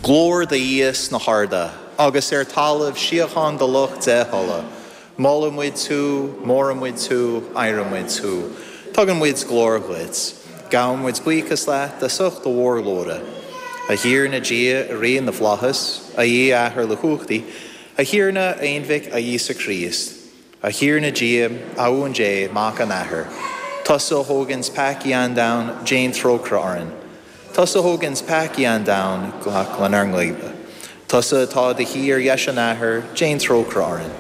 Glóir do Dhia sna harda, agus ar talamh síocháin do lucht dea-thola. Molann muid thú, mórann muid thú, adhrann muid thú. Tugann muid glóir dhuit. Gabhann muid buíochas leat as ucht do mhórghlóire. A Thiarna Dia, a Rí na bhFlaitheas, a Dhia Athair uilechumhachtaigh, a Thiarna, a Aonmhic, a Íosa Críost. A Thiarna Dia, a Uan Dé, Mac an Athar, tusa a thóganns peacaí an domhain, déan trócaire orainn. Tusa a thóganns peacaí an domhain, glac lenár nguibhe. Tusa atá i do shuí ar dheis an Athar, déan trócaire orainn.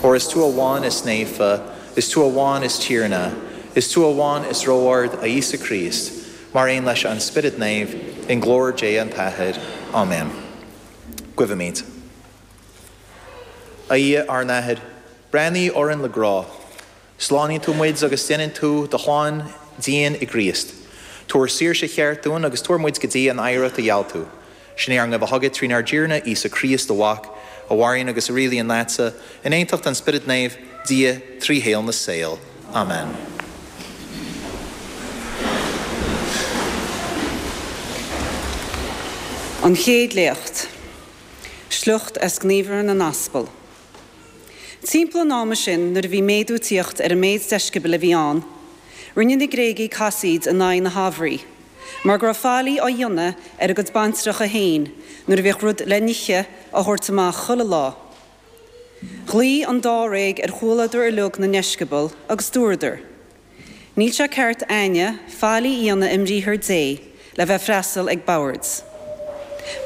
Óir is tú amháin is naofa, is tú amháin is Tiarna, is tú amháin is ró-ard, a Íosa Críost, mar aon leis an Spiorad Naomh, i nglóir Dé an tAthair. Áiméan. Guímid. A Dhia ár nAthair, breathnaigh orainn le grá. Slánaíonn tú muid agus déanann tú do chlann dínn i gCríost. Tabhair saoirse cheart dúinn agus tabhair muid go dtí an oidhreacht a gheall tú. Sin é ár nguibhe chugat trínár dTiarna Íosa Críost, do Mhac, a mhaireann agus a rialaíonn leatsa, in aontacht an Spioraid Naoimh, Dia, trí shaol na saol. Amen. An Chéad Léacht. Sliocht as Gníomhartha na nAspal. Timpeall an ama sin, nuair a bhí méadú ag tíocht ar an méid deisceabail a bhí ann, rinne na Gréagaigh casaoid in aghaidh na hadhbhraí, mar go raibh faillí á dhéanamh ar a gcuid baintreacha féin nuair a bhíodh rud le n-ithe á thabhairt amach chuile lá. Ghlaoigh an dáréag ar chomhluadar uilig na ndeisceabal agus dúradar, Níl sé ceart a'inne faillí a dhéanamh i mbriathar Dé le bheith freastal ag boird.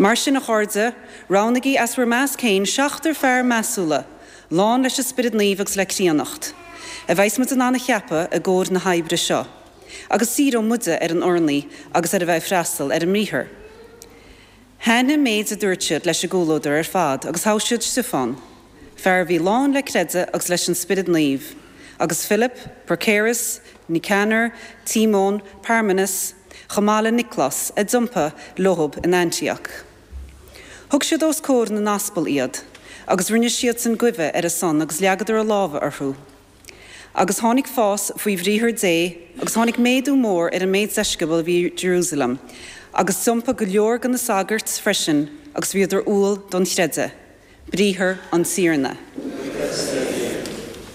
Mar sin, a chairde, roghnaigí as bhur measc féin seachtar fear measúla, lán leis an Spiorad Naomh agus le críonnacht, a bheas muid in ann a cheapadh i gcomhair na hoibre seo, agus saothróidh muide ar an urnaí agus ar a bheith ag freastal ar an mbriathar. Thaitnigh an méid a dúirt siad leis an gcomhluadar ar fad agus thogh siad Stiofán, fear a bhí lán le creideamh agus leis an Spiorad Naomh, agus Filip, Procérus, Niocánor, Tímón, Parmenas, chomh maith le Nioclás, a d'iompaigh leothab in Aintíoc. Thug siad os comhair na n-aspal iad, agus rinne siadsan guibhe ar a son agus leagadar a lámha orthu. Agus tháinig fás faoi bhriathar Dé, agus tháinig méadú mór ar an méid deisceabal a bhí i Jerusalem, agus d'iompaigh go leor de na sagairt freisin agus bhíodar umhal don chreideamh. Briathar an Tiarna.